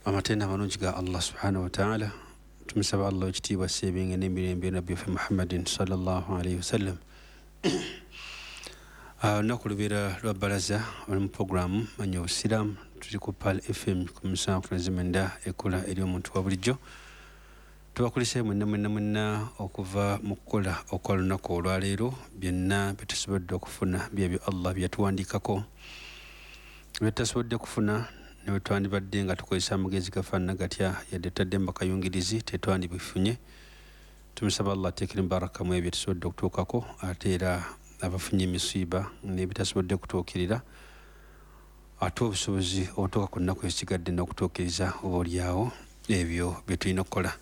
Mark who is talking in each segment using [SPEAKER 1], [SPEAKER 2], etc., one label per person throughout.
[SPEAKER 1] Amatenda amalungi ga Allah subhanahu wataala. Tumusaba Allah ekitiibwa, seebinge n'emirembe nabbi waffe Muhammadin sallallahu alaihi wasallam. Olunaku lubeera lwa balaza, oli mu programu Manya Obusiraamu. Tuli ku Pal FM ku 79, ekola eri omuntu wa bulijjo. Tubakulisayo mwenna mwenna mwenna okuva mu kukola okwa lunaku olwaleero. Byonna byetusobodde okufuna byebyo Allah byeyatuwandiikako. Byetutasobodde kufuna, ne bwe twandibadde nga tukozesa amagezi gafaanana gatya, yadde tutadde mu bakayungirizi, tetwandibifunye. Tumusaba Allah ateekere mubaraka mu ebyo tusobodde okutuukako, ate era abafunye emisiiba n'ebitasobodde kutuukirira, ate obusobozi obutuuka ku nnaku ezisigadde n'okutuukiriza oba oliawo ebyo bye tulina okukola.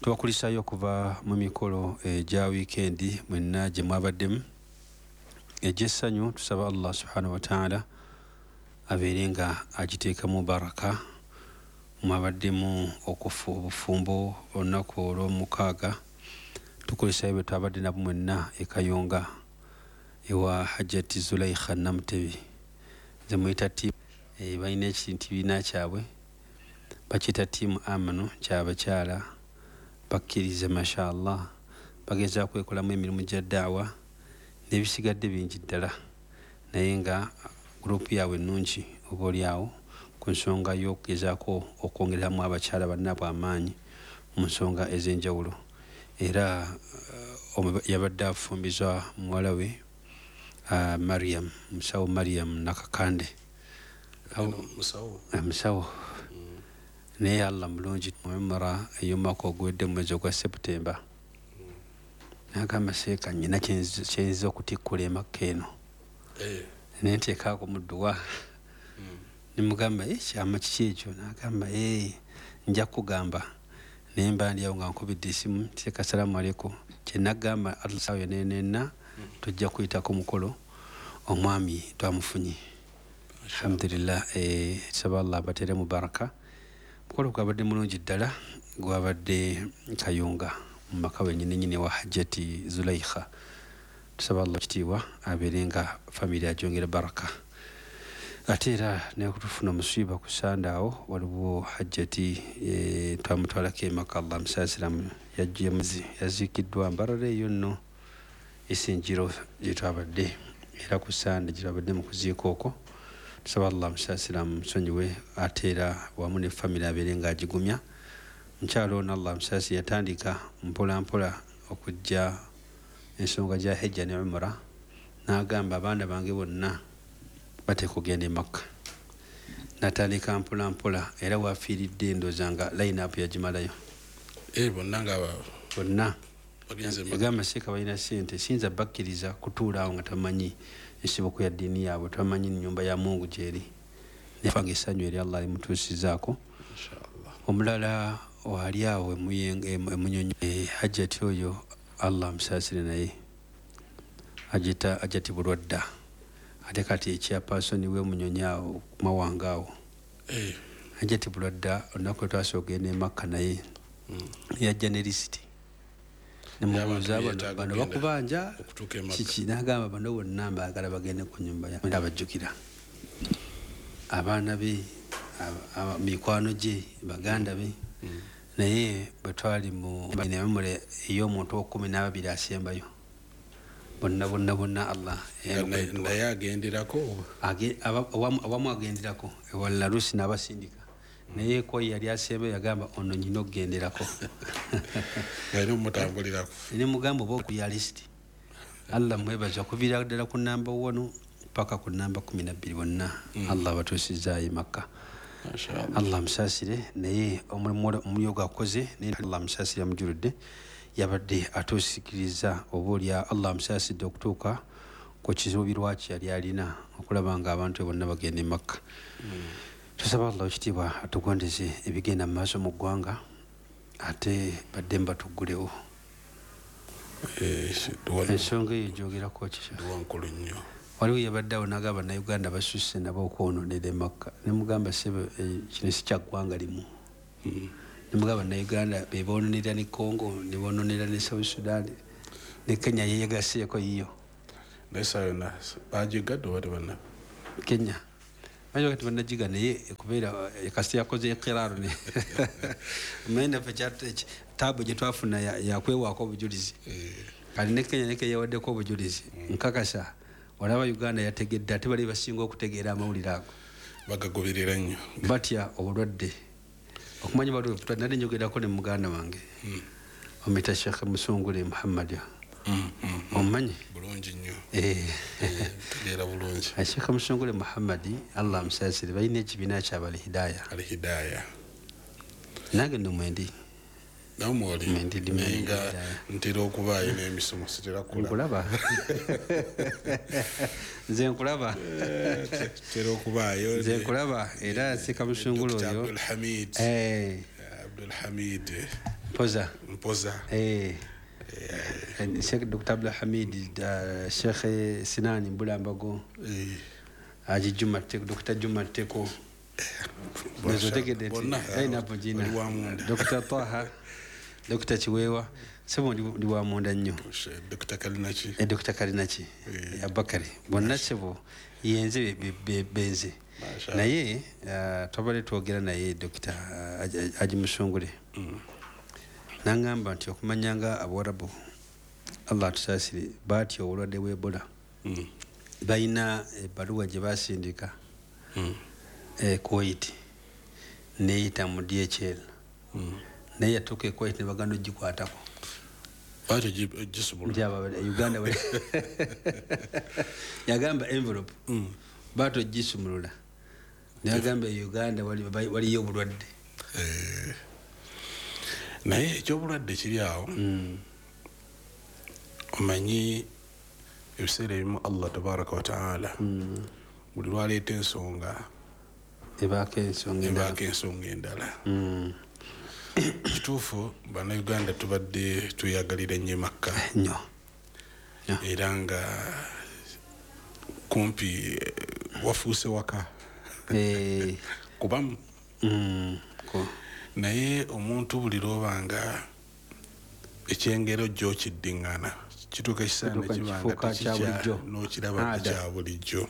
[SPEAKER 1] Tubakulisaayo okuva mu mikolo egya wiikendi mwenna gye mwabaddemu egy'essanyu. Tusaba Allah subhanahu wataala abeere nga agiteekamu baraka. Mwabaddemu okufu obufumbo olunaku olwomukaaga. Tukulisayo bwe twabadde nabo mwenna e Kayunga ewa Hajati Zulaikha Namutebi. Nze muyita tiimu, balina ekibiina kyabwe bakiyita Tiimu Amanu, kyabakyala bakkiriza. Mashallah, bagezaako kwekolamu emirimu gya daawa n'ebisigadde bingi ddala, naye nga gurupu yaabwe ennungi oba oliawo ku nsonga y'okugezaako okwongeramu abakyala bannaabwe amaanyi mu nsonga ez'enjawulo. Era yabadde afumbizwa muwala we Mariam, musawo Mariam Nakakande.
[SPEAKER 2] Musawo?
[SPEAKER 1] Musawo. Naye Allah mulungi, mu umra ey'omwaka oguwedde mu mwezi ogwa Seputemba, nagamba, "Seeka, nyina kyenziza okutikkula emakka eno." Naye nteekaako mu dduwa. Nemugamba, "Kyama kiki ekyo?" Nagamba, "Nja kugamba." Naye mba ndi awo nga nkubidde esimu, "Seeka, salaamu aleikum." Kyenagamba Allah yonenena, tujja kuyitako mukolo, omwami twamufunye, alhamdulillah. Saba Allah abatere mu baraka. Mukolo gwabadde mulungi ddala, gwabadde Kayunga mu maka wenyini nyini wa Hajati Zulaikha. Tusaba Allah kitiibwa abeere nga famire agyongera baraka. Ate era nekutufuna omusiiba ku Sande awo, waliwo Hajjati twamutwalako emaka, Allah musaasiramu, yajjemuzi yaziikiddwa Mbarara eyo nno Isinjiro gyetwabadde, era ku Sande gyetwabadde mu kuziika okwo. Tusaba Allah musaasiramu, musonyiwe, ate era wamu ne famire abeere ng'agigumya. Mukyalo ono, Allah musaasire, yatandika mpola mpola okujja ensonga gya hejja ne umura, n'agamba, "Abaana bange bonna bateeka okugenda e Makka." Natandika mpola mpola, era wafiiridde ndooza nga line up yagimalayo.
[SPEAKER 2] Bonna nga
[SPEAKER 1] bonna
[SPEAKER 2] bagenze Makka.
[SPEAKER 1] Yagamba, "Seeka, balina sente, siyinza bakkiriza kutuula awo nga tamanyi ensibuko ya ddiini yaabwe, tamanyi nyumba ya Mungu gyeri." Nefanga essanyu eri Allah limutuusizaako.
[SPEAKER 2] Inshallah.
[SPEAKER 1] Omulala wali awo Emunyonyo, Hajjati oyo, Allah amusaasire, naye agita Hajjati Bulwadda, ate kati ekyapasoni w'Emunyonyo awo kumawanga awo. Hajjati Bulwadda, olunaku lwe twasooka ogenda emakka naye, yajja ne lisiti. Nemubuuza,
[SPEAKER 2] Y'abantu
[SPEAKER 1] "Bano
[SPEAKER 2] beetaaga
[SPEAKER 1] bano
[SPEAKER 2] okugenda
[SPEAKER 1] bakubanja
[SPEAKER 2] okutuuka e Makka."
[SPEAKER 1] kiki?" Nagamba, "Bano bonna mbaagala bagende ku nyumba ya." Abajjukira abaana be, mikwano gye, baganda be. Naye bwe twali mu emumule ey'omuntu owekumi n'ababiri asembayo, bonna bonna bonna Allah
[SPEAKER 2] Nga naye agenderako?
[SPEAKER 1] Awamu agenderako, ewalala lusi n'abasindika, naye ko yali asembayo yagamba, "Ono nyina okugenderako."
[SPEAKER 2] Alina omutambulirako.
[SPEAKER 1] Ne mugamba, oba okuya lisiti. Allah mwebaza okuviira ddala ku namba 1 paka ku namba 12, bonna Allah abatuusizaayo e Makka.
[SPEAKER 2] Mashallah.
[SPEAKER 1] Allah musaasire, naye omulimu omuliyo gwakoze, naye Allah musaasire amujuludde, yabadde atuusikiriza oba olya. Allah amusaasidde okutuuka ku kizuubirwa kye yali alina, okulaba nga abantu bonna bagenda e Makka. Tusaba Allah ekitiibwa atugondeze ebigenda mu maaso mu ggwanga, ate badde mbatuggulewo. Ensonga eyo gyogerako kiki?
[SPEAKER 2] Dduwa nkulu nnyo.
[SPEAKER 1] Waliwo yabadde awo nagamba, "Bannayuganda basusse nabo okwononera emakka." Nemugamba, "Sebe, kino si kya ggwanga limu." Nemugamba, "Bannayuganda bebononera ne Congo, nebononera ne South Sudan, ne Kenya yeyegaseeko yiyo."
[SPEAKER 2] Naye saa yonna bagigadde oba tebanna?
[SPEAKER 1] Kenya. Bayinza kati bannagiga, naye kubeera kasita yakoze ekiraro ne omanyi naffe taabu gye twafuna yakwewaako obujulizi. Kati ne Kenya ne yawaddeko obujulizi. Nkakasa olaba Uganda yategedde, ate bali basinga okutegeera amawulire ago.
[SPEAKER 2] Bagagoberera nnyo.
[SPEAKER 1] Batya obulwadde. Okumanya bali nali njogerako ne muganda wange omita Sheikh Musungule Muhammad. Omumanyi?
[SPEAKER 2] Bulungi nnyo. Tegeera bulungi.
[SPEAKER 1] Sheikh Musungule Muhammad, Allah amusaasire, balina ekibiina kyabwe Al-Hidaya.
[SPEAKER 2] Al-Hidaya.
[SPEAKER 1] Nange nno mwendi.
[SPEAKER 2] Namwe oli?
[SPEAKER 1] Mwendi, ndi
[SPEAKER 2] Naye nga
[SPEAKER 1] Hidaya.
[SPEAKER 2] ntera okubaayo n'emisomo, sitera kulaba.
[SPEAKER 1] Nkulaba. Nze nkulaba.
[SPEAKER 2] Ntera okubaayo.
[SPEAKER 1] Nze nkulaba, era Sheikh Musungule
[SPEAKER 2] Dr.
[SPEAKER 1] oyo.
[SPEAKER 2] Abdul Hamid. Abdul Hamid.
[SPEAKER 1] Mpoza.
[SPEAKER 2] Mpoza.
[SPEAKER 1] Sheikh Dr. Abdul Hamid, Sheikh Sinani Mbulambago. Haji Juma Teko, Dr. Juma Teko. Nzo tegedde nti,
[SPEAKER 2] Bonna,
[SPEAKER 1] napo jina.
[SPEAKER 2] oli wa munda.
[SPEAKER 1] Dr. Taha, Dr. Chiwewa, sebo ndi wa munda nnyo.
[SPEAKER 2] Dr. Kalinaki.
[SPEAKER 1] Dr. Kalinaki. Abakari. Bonna sebo yenze benze.
[SPEAKER 2] Masha.
[SPEAKER 1] Naye twabadde twogera naye Dr. Haji Musungule. Nangamba nti okumanya nga Abawarabu, Allah atusaasire, baatya obulwadde bwa Ebola. Balina ebbaluwa gye baasindika Kuwait, neeyita mu DHL. Naye yatuuka e Kuwait ne baganda ogikwatako.
[SPEAKER 2] Baatya gisobola.
[SPEAKER 1] Nti aba Uganda bali- Yagamba envelope. Baatya ogisumulula. Ne bagamba e Uganda waliyo obulwadde.
[SPEAKER 2] Naye ekyobulwadde kiri awo. Omanyi ebiseera ebimu Allah tabaraka wa taala buli lwaleeta ensonga
[SPEAKER 1] ebaako ensonga endala.
[SPEAKER 2] Ebaako ensonga endala. Kituufu Bannayuganda tubadde tweyagalira nnyo Makka.
[SPEAKER 1] Nnyo. Nnyo.
[SPEAKER 2] Era nga kumpi wafuuse waka. Kubamu. Naye omuntu buli lw'obanga ekyengero gy'okiddiŋŋana kituuka ekiseera ne
[SPEAKER 1] Kituuka
[SPEAKER 2] kiba nga
[SPEAKER 1] kifuuka kya
[SPEAKER 2] tekikya
[SPEAKER 1] bulijjo.
[SPEAKER 2] n'okiraba
[SPEAKER 1] Ada.
[SPEAKER 2] kya bulijjo.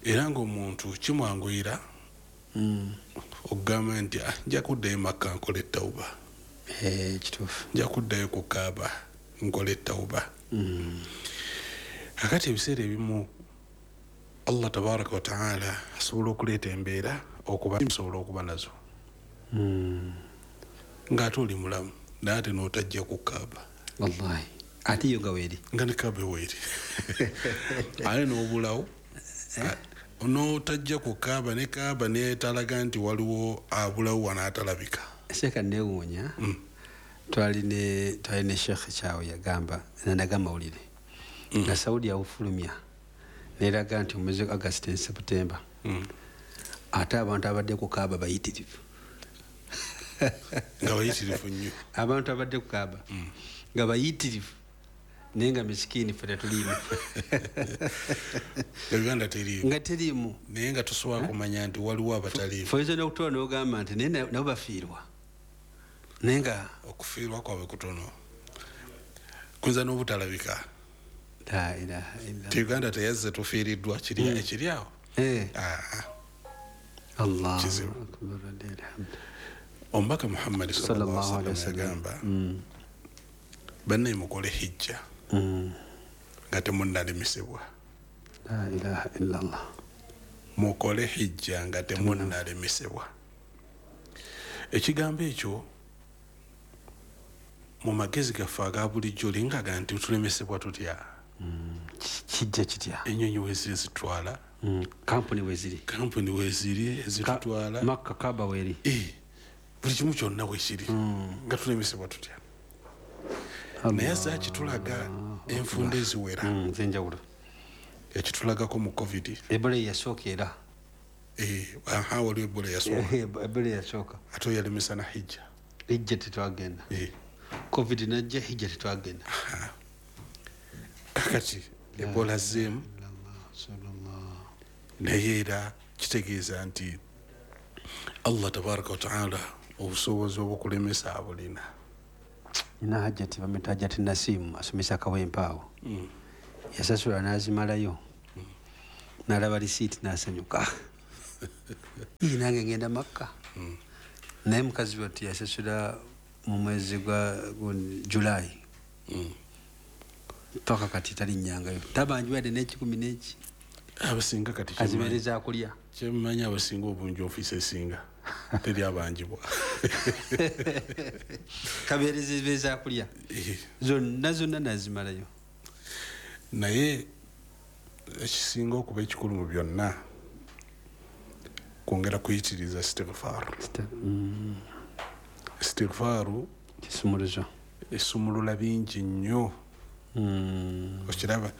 [SPEAKER 2] Era ng'omuntu kimwanguyira okugamba nti, nja kuddayo Makka nkole tawuba.
[SPEAKER 1] Kituufu.
[SPEAKER 2] Nja kuddayo ku Kaaba nkole tawuba. Kakati ebiseera ebimu Allah tabaraka wa taala asobola okuleeta embeera okuba nsobola okuba nazo. Ng'ate oli mulamu naye ate n'otajja ku Kaaba.
[SPEAKER 1] Wallahi. Ate yo nga weeri.
[SPEAKER 2] Nga ne Kaaba weeri. Ate n'obulawo. N'otajja ku Kaaba ne Kaaba neetalaga nti waliwo abulawo wano atalabika.
[SPEAKER 1] Sheikh neewuunya. Twali ne Sheikh Kyawe yagamba, nandaga amawulire. Nga Saudi yawufulumya. Neeraga nti omwezi August ne September. Ate abantu abadde ku Kaaba bayitirivu.
[SPEAKER 2] Nga bayitirivu nnyo.
[SPEAKER 1] Abantu abadde ku Kaaba. Nga bayitirivu. Naye nga misikini ffe tetuliimu.
[SPEAKER 2] Uganda teriimu.
[SPEAKER 1] Nga teriimu.
[SPEAKER 2] Naye nga tosobola kumanya nti waliwo abataliimu.
[SPEAKER 1] Ffe oyinza n'okutuula n'ogamba nti naye nabo bafiirwa. Naye nga
[SPEAKER 2] okufiirwa kwabwe kutono. Kuyinza n'obutalabika.
[SPEAKER 1] La ilaha illallah.
[SPEAKER 2] Ti Uganda teyazze tufiiriddwa kiri ekiri awo.
[SPEAKER 1] Allah
[SPEAKER 2] Kizibu.
[SPEAKER 1] akbar, alhamdulillah.
[SPEAKER 2] Omubaka Muhammad sallallahu
[SPEAKER 1] Sallallahu
[SPEAKER 2] alaihi
[SPEAKER 1] alaihi
[SPEAKER 2] wasallam
[SPEAKER 1] wasallam.
[SPEAKER 2] yagamba, bannaye mukole hijja. Nga temunnalemesebwa.
[SPEAKER 1] La ilaha illallah.
[SPEAKER 2] Mukole hijja nga temunnalemesebwa. Ekigambo ekyo mu magezi gaffe aga bulijjo lingaga nti tulemesebwa tutya?
[SPEAKER 1] Kijja kitya?
[SPEAKER 2] Ennyonyi weeziri zitwala.
[SPEAKER 1] Kampuni weeziri.
[SPEAKER 2] Kampuni weeziri ezitutwala.
[SPEAKER 1] Makka Kaaba weeri.
[SPEAKER 2] Buli kimu kyonna weekiri. Nga tulemesebwa tutya?
[SPEAKER 1] Allah.
[SPEAKER 2] Naye zaakitulaga enfunda eziwera.
[SPEAKER 1] Ez'enjawulo.
[SPEAKER 2] Ekitulagako mu COVID.
[SPEAKER 1] Ebola yasooka era.
[SPEAKER 2] Aha, waliwo Ebola yasooka.
[SPEAKER 1] Ebola yasooka.
[SPEAKER 2] Ate yalemesa na hijja.
[SPEAKER 1] Hijja tetwagenda. COVID najja, hijja tetwagenda.
[SPEAKER 2] Kakati Ebola zzeemu. Naye era kitegeeza nti Allah tabaraka wa taala obusobozi obukulemesa abulina.
[SPEAKER 1] Nina Hajjati bamuyita Hajjati Nasimu asomesa Kawempe awo. Yasasula n'azimalayo. N'alaba risiiti n'asanyuka. Iyi nange ngenda Makka. Naye mukazi wattu yasasula mu mwezi gwa July. Paka kati talinnyangayo. Tabanjibwa yadde n'ekikumi n'eki.
[SPEAKER 2] Abasinga kati
[SPEAKER 1] azibeereza akulya.
[SPEAKER 2] Kyemmanyi abasinga obungi ofiisi esinga teri abanjibwa.
[SPEAKER 1] Kabeereza akulya. Zonna zonna nazimalayo.
[SPEAKER 2] Naye ekisinga okuba ekikulu mu byonna kwongera kuyitiriza istighfar. Istighfaru
[SPEAKER 1] kisumuluzo
[SPEAKER 2] esumulula bingi nnyo. Okiraba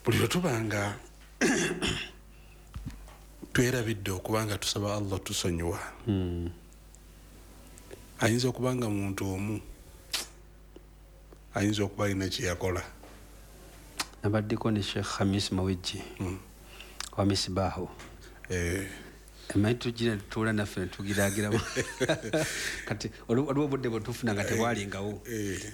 [SPEAKER 2] buli lwe tubanga twerabidde okubanga tusaba Allah tusonyiwa. Ayinza okubanga muntu omu ayinza okuba alina kye yakola.
[SPEAKER 1] Nabaddeko ne Sheikh Hamis Mawejje wa Misbahu. Emanyi tugira tutuula naffe ne tugiraagiramu. Kati waliwo obudde bwe tufuna nga tebwalingawo.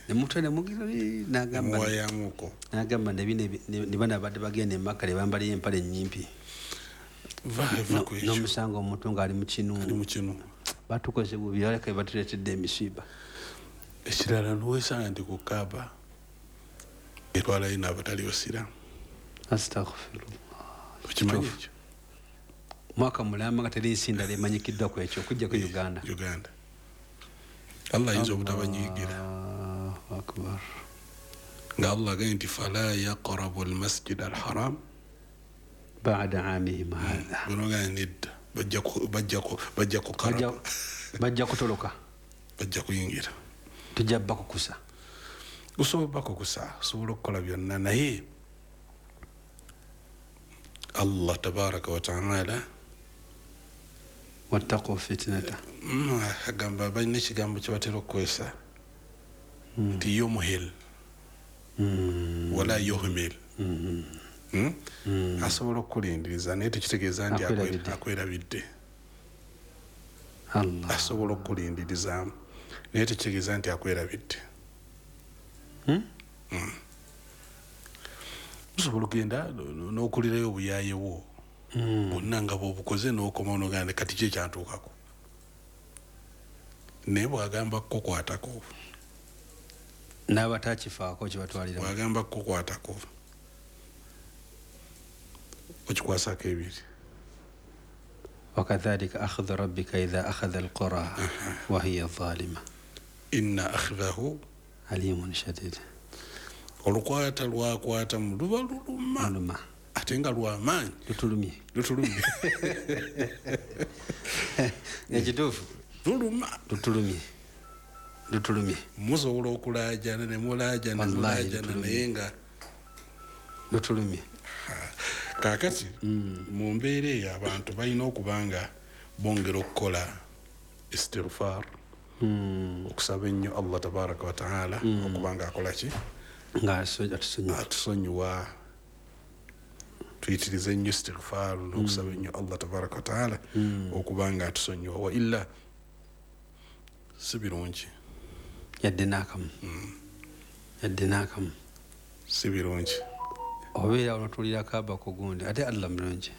[SPEAKER 1] Ne mutwe ne mugira n'agamba
[SPEAKER 2] muwayamuko.
[SPEAKER 1] N'agamba ne bano abadde bagenda e Makka ne bambalayo empale ennyimpi. N'omusanga omuntu ng'ali mu kinu.
[SPEAKER 2] Ali mu kinu.
[SPEAKER 1] Batukoze bubi aleka batuleetedde emisiba.
[SPEAKER 2] Ekirala n'owesanga nti ku Kaaba etwalayo n'abatali basiraamu.
[SPEAKER 1] Astaghfirullah.
[SPEAKER 2] Okimanyi ekyo?
[SPEAKER 1] Mwaka mulamba nga teri nsi ndala emanyikiddwa ku ekyo okuggyako Uganda.
[SPEAKER 2] Uganda. Allah ayinza obutabanyiigira.
[SPEAKER 1] Allahu akbar.
[SPEAKER 2] Nga Allah agambye nti fala yaqrabu al-masjid al-haram
[SPEAKER 1] ba'da amihim hadha.
[SPEAKER 2] Bonoga nedda bajja
[SPEAKER 1] kutoloka.
[SPEAKER 2] Bajja kuyingira.
[SPEAKER 1] Tujja bakukusa.
[SPEAKER 2] Osobola bakukusa, osobola okukola byonna naye Allah tabaraka wa ta'ala
[SPEAKER 1] wattaqu fitnata.
[SPEAKER 2] Agamba balina ekigambo kye batera okukozesa nti yumuhil wala yuhmil. Asobola okukulindiriza naye tekitegeeza nti akwerabidde.
[SPEAKER 1] Allah
[SPEAKER 2] asobola okukulindirizaamu naye tekitegeeza nti akwerabidde. Osobola okugenda n'okulirayo obuyaaye bwo bwonna nga bw'obukoze n'okomawo n'ogamba kati ki ekyantuukako. Naye bw'agamba kukukwatako
[SPEAKER 1] n'abatakifaako kibatwalira.
[SPEAKER 2] Bw'agamba kukukwatako okikwasako ebiri.
[SPEAKER 1] Wakadhalika akhadhu rabbika idha akhadha alqura wa hiya zalima
[SPEAKER 2] inna akhdahu
[SPEAKER 1] alimun shadid.
[SPEAKER 2] Olukwata lwakwata luba luluma ate nga lwamaanyi
[SPEAKER 1] lutulumye.
[SPEAKER 2] Lutulumye.
[SPEAKER 1] Ekituufu
[SPEAKER 2] luluma
[SPEAKER 1] lutulumye. Lutulumye.
[SPEAKER 2] Musobola okulaajana ne mulaajana mulaajana naye nga
[SPEAKER 1] lutulumye.
[SPEAKER 2] Kaakati mu mbeera eyo abantu balina okuba nga bongera okukola istighfar, okusaba ennyo Allah tabaraka wa taala okuba nga akola ki
[SPEAKER 1] nga
[SPEAKER 2] atusonyiwa. Tuyitirize ennyo istighfar n'okusaba ennyo Allah tabaraka wa taala okuba nga atusonyiwa. Wa illa si birungi
[SPEAKER 1] yadde n'akamu. Yadde n'akamu
[SPEAKER 2] si birungi.
[SPEAKER 1] Obeera olwatuulira Kaaba ku gundi ate Allah mulungi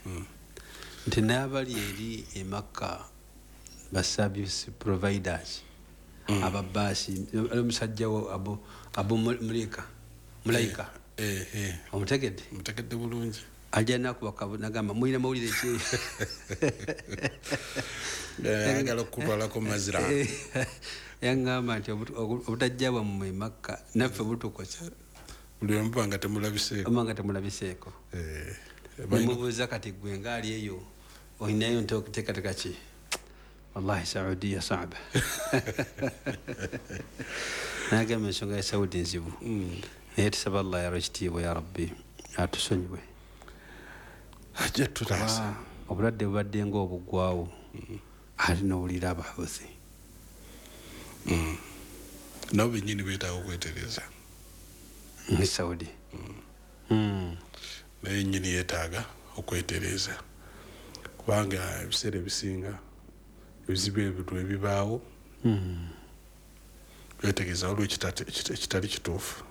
[SPEAKER 1] nti n'abali eri e Makka ba service providers ababaasi omusajja wo Abu Mulaika omutegedde?
[SPEAKER 2] Mutegedde bulungi.
[SPEAKER 1] Ajja nakuba nagamba mulina mawulire ki?
[SPEAKER 2] Ayagala okukutwalako mazira.
[SPEAKER 1] Yangamba nti obutajja bwammwe e Makka naffe butukosa.
[SPEAKER 2] Buli omu nga temulabiseeko.
[SPEAKER 1] Omu nga temulabiseeko. Nemubuuza kati gwe ng'ali eyo olinayo nteekateeka ki? Wallahi Saudiya saaba. Nagamba ensonga ya Saudi nzibu. Naye tusaba Allah yalwa ekitiibwa ya Rabbi atusonyiwe.
[SPEAKER 2] Ajja tutaasa.
[SPEAKER 1] Obulwadde bubadde ng'obuggwawo ate n'owulira abahuzi.
[SPEAKER 2] Nabo bennyini beetaaga okwetereeza.
[SPEAKER 1] Mu Saudi.
[SPEAKER 2] Naye nnyini yeetaaga okwetereeza kubanga ebiseera ebisinga ebizibu ebyo ebibaawo beetegeeza waliwo ekitali kituufu.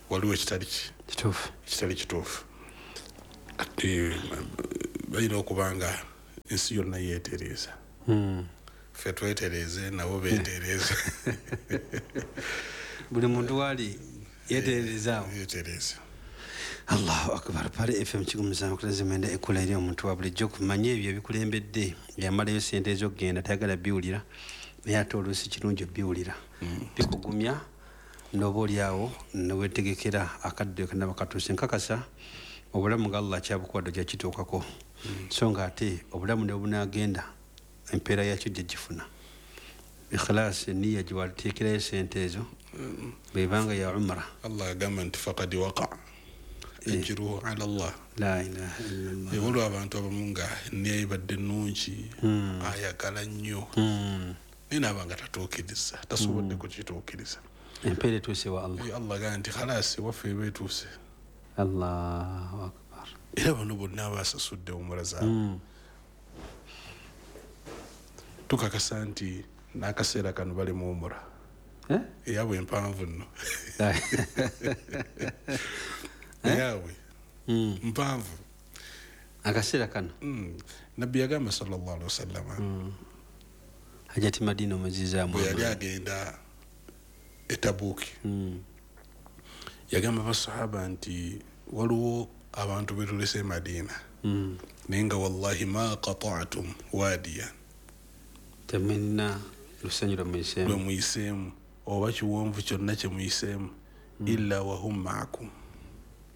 [SPEAKER 2] Waliwo ekitali kituufu. Ekitali kituufu. Ate Balina okuba nga ensi yonna yeetereeza. Ffe twetereeze nabo beetereeze.
[SPEAKER 1] Buli muntu waali yeetereezaawo.
[SPEAKER 2] Yeetereeze.
[SPEAKER 1] Allahu akbar. Pale FM 759 ekola eri omuntu wa bulijjo kumanya ebyo ebikulembedde yamalayo sente ez'okugenda tayagala biwulira naye ate oluusi kirungi obiwulira bikugumya n'oba oliawo neweetegekera akadde kanaba katuuse. Nkakasa obulamu nga Allah akyabukuwadde ojja kituukako so nga ate obulamu ne bunaagenda empeera yakyo gye gifuna. Ikhlas niya gyewateekerayo sente ezo bwebanga ya umra.
[SPEAKER 2] Allah agamba nti faqad waqa ajruhu ala Allah.
[SPEAKER 1] La ilaha illallah.
[SPEAKER 2] Waliwo abantu abamu nga niya ebadde nnungi ayagala nnyo naye naaba nga tatuukiriza, tasobodde kukituukiriza.
[SPEAKER 1] Empeera etuuse wa Allah.
[SPEAKER 2] Allah agamba nti khalasi waffe eba etuuse.
[SPEAKER 1] Allahu akbar.
[SPEAKER 2] Era bano bonna abasasudde umura zaabwe tukakasa nti n'akaseera kano bali mu umura eyabwe empanvu nno. Eyabwe mpanvu
[SPEAKER 1] akaseera kano.
[SPEAKER 2] Nabbi yagamba sallallahu alaihi wasallam
[SPEAKER 1] Hajati Madina omuzizaamu
[SPEAKER 2] bwe yali agenda e Tabuki yagamba basahaba nti waliwo abantu betulese e Madina naye nga wallahi ma qata'tum wadiyan,
[SPEAKER 1] temulina lusenyu lwe
[SPEAKER 2] muyiseemu oba kiwonvu kyonna kye muyiseemu illa wahum ma'akum.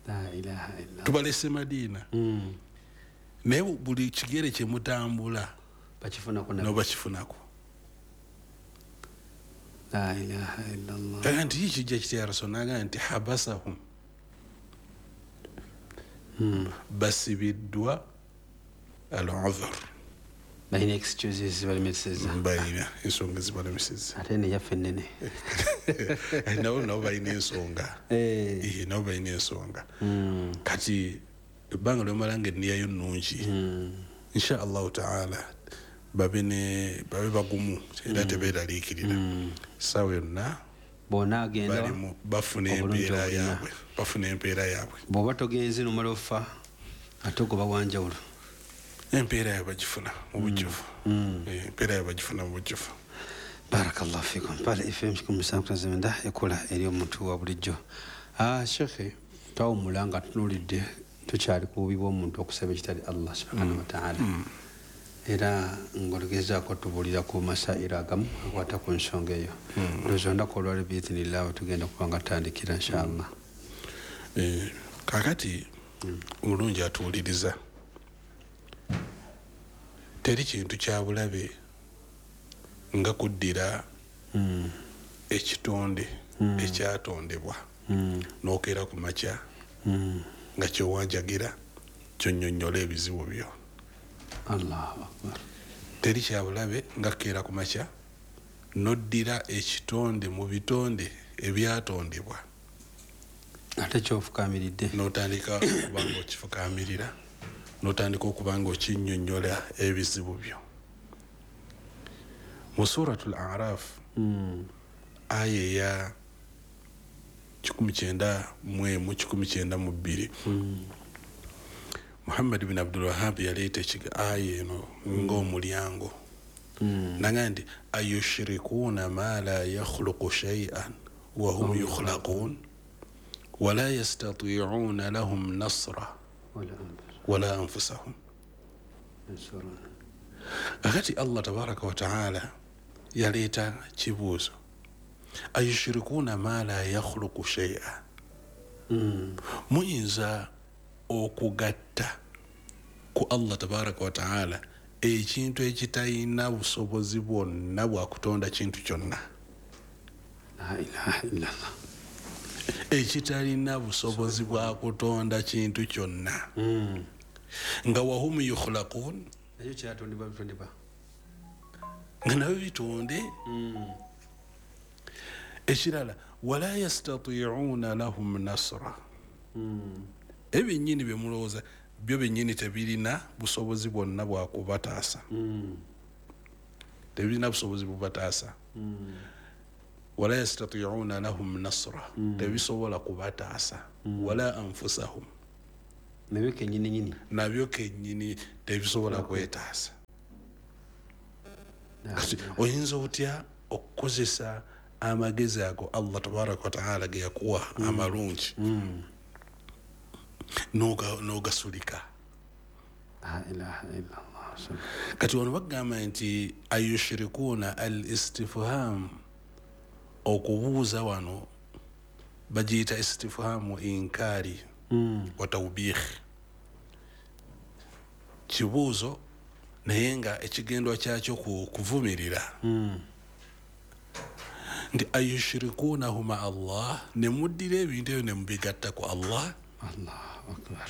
[SPEAKER 1] La ilaha illallah.
[SPEAKER 2] Tubalese Madina naye buli kigere kye mutambula
[SPEAKER 1] bakifunako
[SPEAKER 2] nabo bakifunako.
[SPEAKER 1] La ilaha illallah.
[SPEAKER 2] Nti kijja kitya Rasul? N'agamba nti habasahum, basibiddwa al-udhr,
[SPEAKER 1] balina excuses zibalemesezza,
[SPEAKER 2] balina ensonga zibalemesezza.
[SPEAKER 1] Ate neyaffe ennene
[SPEAKER 2] nabo balina ensonga. Nabo balina ensonga. Kati ebbanga lyomala nga enniyayo nnungi insha Allahu taala babe bagumu era tebeeraliikirira. Ssaawa yonna
[SPEAKER 1] bonna agenda
[SPEAKER 2] bafuna empeera yaabwe, bafuna empeera yaabwe.
[SPEAKER 1] Bw'oba togenze n'omala ofa ate ogoba wanjawulo.
[SPEAKER 2] Empeera yaabwe bagifuna mu bujjuvu. Empeera yaabwe bagifuna mu bujjuvu.
[SPEAKER 1] Barakallahu fikum. Pale FM 759 ekola eri omuntu wa bulijjo. Shekhe twawummula nga tunuulidde tukyali ku bubi bw'omuntu okusaba ekitali Allah subhanahu wa ta'ala. Era ng'ogezaako tubuulira ku masairo agamu akwata ku nsonga eyo. Ndowooza olunaku olwaleero biizinillah tugenda kuba nga tutandikira inshallah.
[SPEAKER 2] Kaakati omulungi atuwuliriza, teri kintu kya bulabe nga kuddira ekitonde ekyatondebwa n'okeera ku makya nga kyowanjagira kyonnyonnyola ebizibu byo.
[SPEAKER 1] Allahu akbar.
[SPEAKER 2] Teri kyabulabe nga keera ku makya n'oddira ekitonde mu bitonde ebyatondebwa
[SPEAKER 1] ate kyofukaamiridde
[SPEAKER 2] n'otandika okuba nga okifukaamirira, n'otandika okuba nga okinnyonnyola ebizibu byo. Mu Suratul A'raf aya eya 191 192 Muhammad bin Abdul Wahhab yaleeta aya eno ng'omulyango n'agamba nti ayushrikuuna ma la yakhluqu shay'an wa hum yukhlaqun wa la yastati'una lahum nasra wala anfusahum. Akati Allah tabaraka wa ta'ala yaleeta kibuuzo ayushrikuuna ma la yakhluqu shay'an, muyinza okugatta ku Allah tabaraka wa ta'ala ekintu ekitalina busobozi bwonna bwakutonda kintu kyonna.
[SPEAKER 1] La ilaha illallah.
[SPEAKER 2] Ekitalina busobozi bwakutonda kintu kyonna nga wahum yukhlaqun,
[SPEAKER 1] nakyo kyatondebwa bitondebwa
[SPEAKER 2] nga nabyo bitonde. Ekirala wala yastati'una lahum nasra, ebyennyini bye mulowooza byo byennyini tebirina busobozi bwonna bwakubataasa. Tebirina busobozi bubataasa. Wala yastati'una lahum nasra, tebisobola kubataasa. Wala anfusahum,
[SPEAKER 1] Nabyo kennyini nyini.
[SPEAKER 2] Nabyo kennyini tebisobola kwetaasa. Kati oyinza otya okukozesa amagezi ago Allah tabaraka wa taala ge yakuwa amalungi n'ogasulika?
[SPEAKER 1] La ilaha illallah.
[SPEAKER 2] Kati wano bagamba nti ayushirikuuna al istifham, okubuuza wano bagiyita istifhamu inkari wa tawbih, kibuuzo naye nga ekigendwa kyakyo kuvumirira. Nti ayushirikuunahu ma Allah, ne muddira ebintu ebyo ne mubigatta ku Allah.
[SPEAKER 1] Allahu akbar.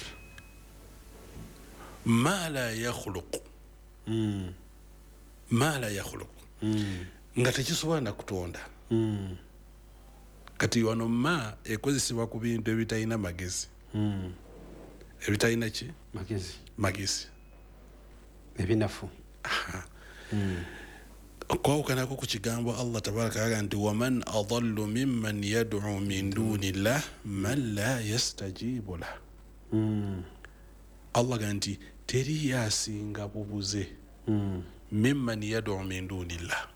[SPEAKER 2] Ma la yakhluqu, ma la yakhluqu, nga tekisobola na kutonda. Kati wano ma ekozesebwa ku bintu ebitalina magezi. Ebitalina ki?
[SPEAKER 1] Magezi.
[SPEAKER 2] Magezi
[SPEAKER 1] ebinafu.
[SPEAKER 2] Okwawukanako ku kigambo Allah tabaraka wa taala nti waman adallu mimman yad'u min duni llah man la yastajibu lah. Allah ga nti teri yasinga bubuze mimman yad'u min duni llah,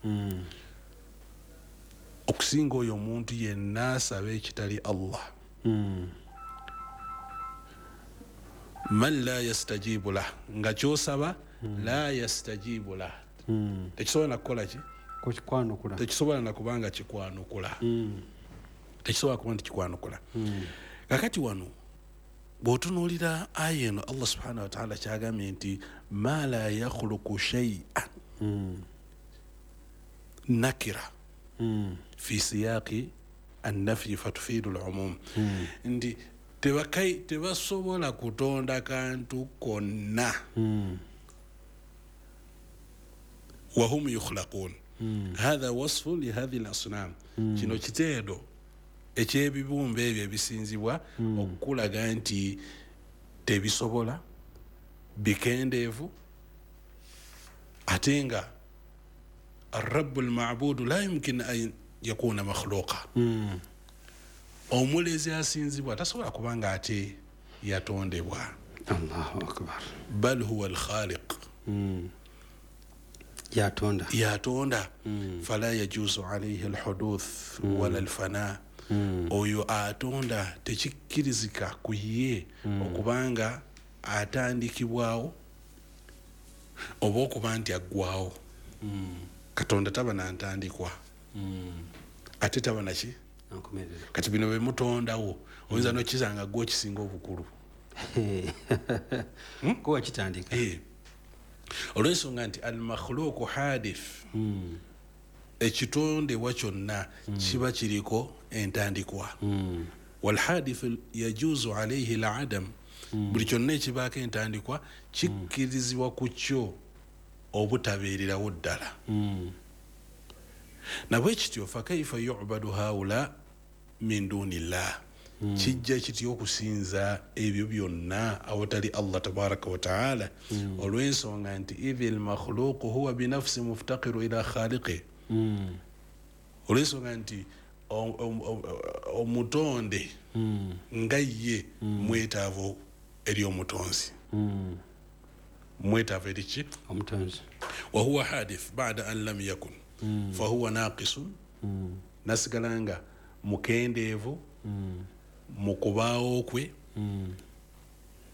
[SPEAKER 2] okusinga oyo omuntu yenna asaba ekitali Allah. Man la yastajibu lah, nga kyosaba la yastajibu lah, tekisobola nakukola ki?
[SPEAKER 1] Kukikwanukula.
[SPEAKER 2] Tekisobola nakubanga kikwanukula. Tekisobola kuba nti kikwanukula. Kakati wano bw'otunuulira aya eno Allah subhanahu wa ta'ala kyagambye nti ma la yakhluqu shay'an nakira fi siyaqi annafyi fatufidu al-umum, nti tebasobola kutonda kantu konna. Wahum yukhlaqun, hadha wasfu lihadhihi al-asnam. Kino kiteedo eky'ebibumbe ebyo ebisinzibwa okukulaga nti tebisobola, bikendeevu, ate nga arrabu lmabudu la yumkin an yakuna makhluqa. Omulezi asinzibwa tasobola kubanga ate yatondebwa.
[SPEAKER 1] Allahu akbar.
[SPEAKER 2] Bal huwa alkhaliq,
[SPEAKER 1] yatonda.
[SPEAKER 2] Yatonda. Fala yajuzu alayhi alhuduth wala alfana. Oyo atonda tekikkirizika ku ye okubanga atandikibwawo oba okuba nti aggwawo. Katonda taba nantandikwa, ate taba naki? Kati bino bemutondawo oyinza n'okizanga gwe okisinga obukulu.
[SPEAKER 1] Kuwa kitandika.
[SPEAKER 2] Olw'ensonga nti al-makhluqu hadith, ekitondebwa kyonna kiba kiriko entandikwa. Walhadith yajuzu alayhi al-adam, buli kyonna ekibaako entandikwa kikkirizibwa ku kyo obutabeererawo ddala. Nabwe kityo fakaifa yu'badu haula min dunillah, kijja kityo okusinza ebyo byonna awatali Allah tabaraka wa taala. Olw'ensonga nti idhi lmakhluqu huwa binafsi muftaqiru ila khaliqi, olw'ensonga nti omutonde nga ye mwetaavu eri omutonzi, mwetaavu eri ki?
[SPEAKER 1] Omutonzi.
[SPEAKER 2] Wa huwa hadith ba'da an lam yakun fahuwa naqisun, nasigala nga mukendeevu mu kubaawo kwe,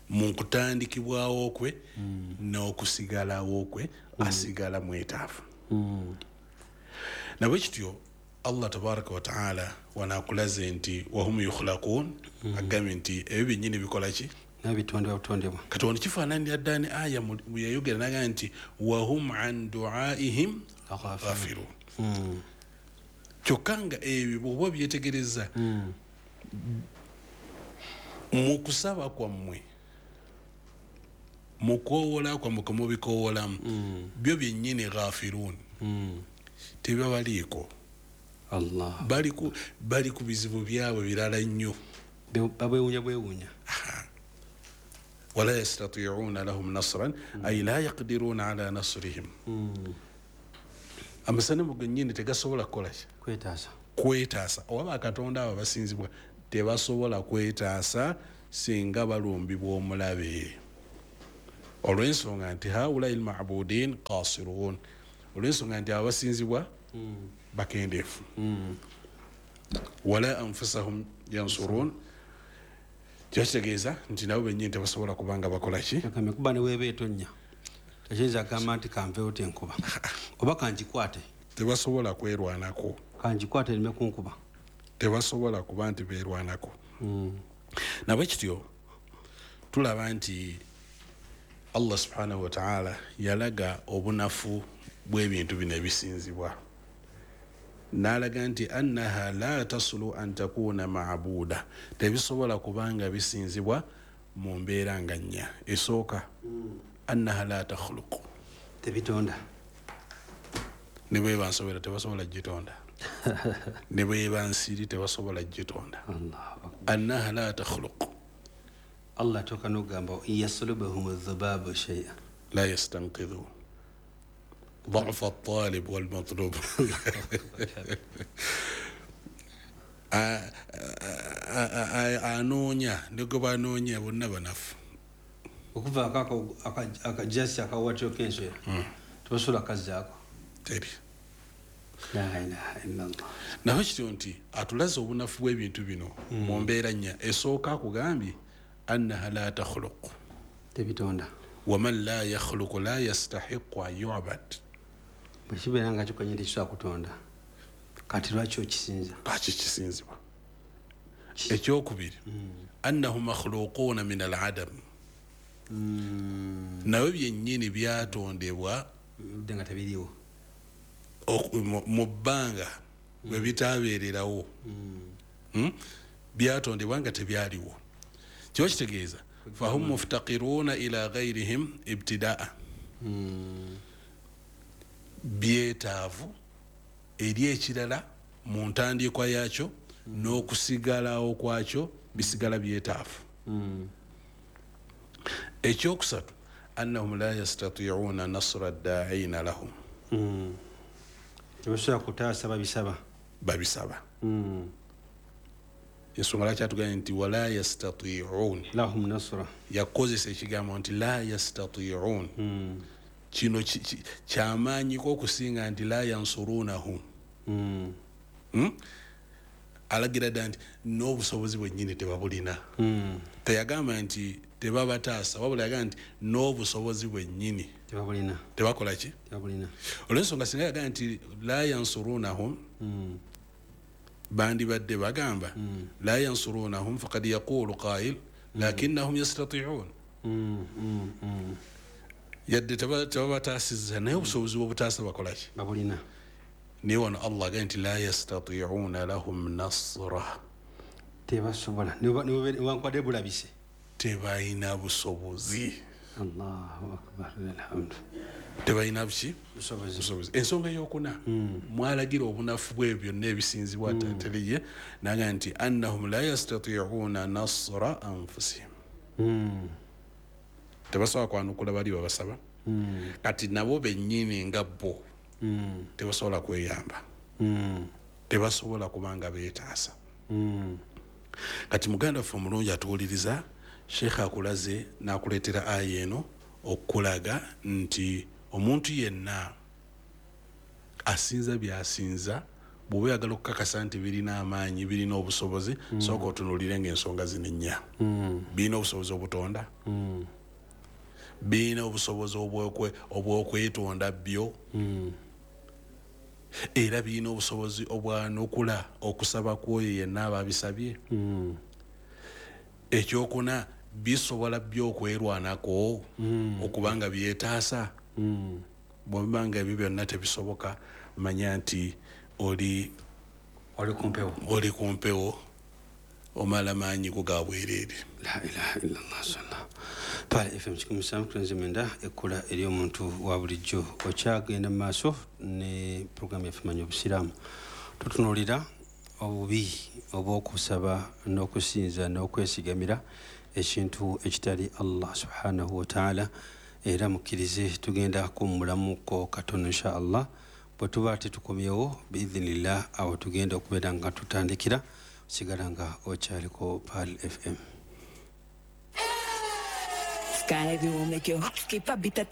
[SPEAKER 2] mu kutandikibwawo kwe, n'okusigalawo kwe, asigala mwetaavu. Nabwe kityo Allah tabaraka wa taala wanakulaze nti wahum yukhlaqun, agambye nti ebyo byennyini bikola ki?
[SPEAKER 1] Nabitondebwa butondebwa.
[SPEAKER 2] Kati wano kifaananira ddala ne aya yayogera n'agamba nti wahum an duaihim ghafilun. Kyokka nga ebyo bw'oba byetegereza mu kusaba kwammwe, mu kwowola kwammwe kwe mubikoowolamu, byo byennyini ghafilun, tebabaliiko.
[SPEAKER 1] Allah.
[SPEAKER 2] Bali ku bizibu byabwe birala nnyo,
[SPEAKER 1] babwewuunya bwewuunya.
[SPEAKER 2] Wala yastati'una lahum nasran, ay la yaqdiruna ala nasrihim. Amasanamu gennyini tegasobola kukola ki?
[SPEAKER 1] Kwetaasa.
[SPEAKER 2] Kwetaasa. Oba bakatonda abo abasinzibwa tebasobola kwetaasa Singa balumbibwa omulabe, olw'ensonga nti haulai lmabudin qasirun, olw'ensonga nti abasinzibwa bakendeefu. Wala anfusahum yansurun, kiba kitegeeza nti nabo bennyini tebasobola kubanga bakola ki?
[SPEAKER 1] Kuba ne weeba etonnya tekiyinza kugamba nti kanveewo tenkuba oba kangikwate.
[SPEAKER 2] Tebasobola kwerwanako,
[SPEAKER 1] kangikwate ereme kunkuba,
[SPEAKER 2] tebasobola kuba nti beerwanako. Nabwe kityo tulaba nti Allah subhanahu wa ta'ala yalaga obunafu bw'ebintu bino ebisinzibwa, n'alaga nti annaha la tasulu an takuna maabuda, tebisobola kubanga bisinzibwa mu mbeera nga nnya. Esooka, annaha la takhluqu,
[SPEAKER 1] tebitonda.
[SPEAKER 2] Ne bweba nsobera tebasobola gitonda, ne bweba nsiri tebasobola gitonda. Annaha la takhluqu,
[SPEAKER 1] Allah toka n'ogamba yaslubahum adh-dhubabu shay'a
[SPEAKER 2] la yastanqidhu ضعف الطالب والمطلوب. Anoonya ne gwe banoonya bonna banafu.
[SPEAKER 1] Okuva akajasi akawatiro k'enswera tebasobola kazzaako
[SPEAKER 2] teri.
[SPEAKER 1] La ilaha illallah.
[SPEAKER 2] Naye kityo nti atulaze obunafu bw'ebintu bino mu mbeera nnya. Esooka akugambye annaha la takhluq,
[SPEAKER 1] tebitonda.
[SPEAKER 2] Waman la yakhluqu la yastahiqu an yu'bad,
[SPEAKER 1] bwe kibeera nga kikwenye tekisobola kutonda, kati lwaki okisinza?
[SPEAKER 2] Lwaki kisinzibwa? Ekyokubiri, annahu makhluquuna min al-adam, nabyo byennyini byatondebwa
[SPEAKER 1] nga tebiriiwo
[SPEAKER 2] mu bbanga bwe bitaabeererawo, byatondebwa nga tebyaliwo. Kiba kitegeeza fahum muftaqiruna ila ghairihim ibtidaa, byetaavu eri ekirala mu ntandikwa yakyo n'okusigalawo kwakyo bisigala byetaavu. Ekyokusatu, annahum la yastati'una nasra ad-da'ina lahum,
[SPEAKER 1] tebasobola kutaasa babisaba.
[SPEAKER 2] Babisaba. Ensonga lwaki atugambye nti wala yastati'un
[SPEAKER 1] lahum nasra,
[SPEAKER 2] yakozesa ekigambo nti la yastati'un. Kino kyamaanyiko okusinga nti la yansurunahum. Alagira dda nti n'obusobozi bwennyini tebabulina. Teyagamba nti tebabataasa, wabula yagamba nti n'obusobozi bwennyini
[SPEAKER 1] tebabulina,
[SPEAKER 2] tebakola ki?
[SPEAKER 1] Tebabulina.
[SPEAKER 2] Olw'ensonga singa yagamba nti la yansurunahum, bandibadde bagamba la yansurunahum faqad yaqulu qail lakinnahum yastati'un, yadde tebabataasizza naye obusobozi bw'obutaasa bakola ki?
[SPEAKER 1] Babulina.
[SPEAKER 2] Naye wano Allah agambye nti la yastati'una lahum nasra,
[SPEAKER 1] tebasobola newankubadde bulabise,
[SPEAKER 2] tebalina busobozi.
[SPEAKER 1] Allahu akbar, alhamdu.
[SPEAKER 2] Tebalina buki?
[SPEAKER 1] Busobozi.
[SPEAKER 2] Ensonga eyokuna mwalagira obunafu bw'ebyo byonna ebisinzibwa teriye, naga nti annahum la yastati'una nasra anfusihim, tebasobola kwanukula bali babasaba. Kati nabo bennyini nga bo tebasobola kweyamba, tebasobola kubanga beetaasa. Kati muganda waffe omulungi atuwuliriza, Sheikh akulaze n'akuleetera aya eno okulaga nti omuntu yenna asinza by'asinza, bw'oba oyagala okukakasa nti birina amaanyi, birina obusobozi, sooka otunuulire ng'ensonga zino ennya. Birina obusobozi obutonda, birina obusobozi obw'okwetonda byo, era birina obusobozi obwanukula okusaba kw'oyo yenna aba abisabye. Ekyokuna, bisobola byokwerwanako okubanga byetaasa. Bw'oba nga ebyo byonna tebisoboka, manya nti oli
[SPEAKER 1] kumpewo,
[SPEAKER 2] oli kumpewo, omala maanyi go ga bwereere.
[SPEAKER 1] La ilaha illallah sallallahu. Pale FM 7.9 ekkula eri omuntu wa bulijjo. Okyagenda mu maaso ne programu yaffe Manya Obusiraamu. Tutunuulira obubi obw'okusaba n'okusinza n'okwesigamira ekintu ekitali Allah subhanahu wa ta'ala. Era mukkirize tugenda kuwummulamuko katono insha Allah. Bwe tuba tetukomyewo biidhinillah, awo tugenda okubeera nga tutandikira. Sigala nga okyaliko Pearl FM.
[SPEAKER 3] Sky will make your heart skip a beat.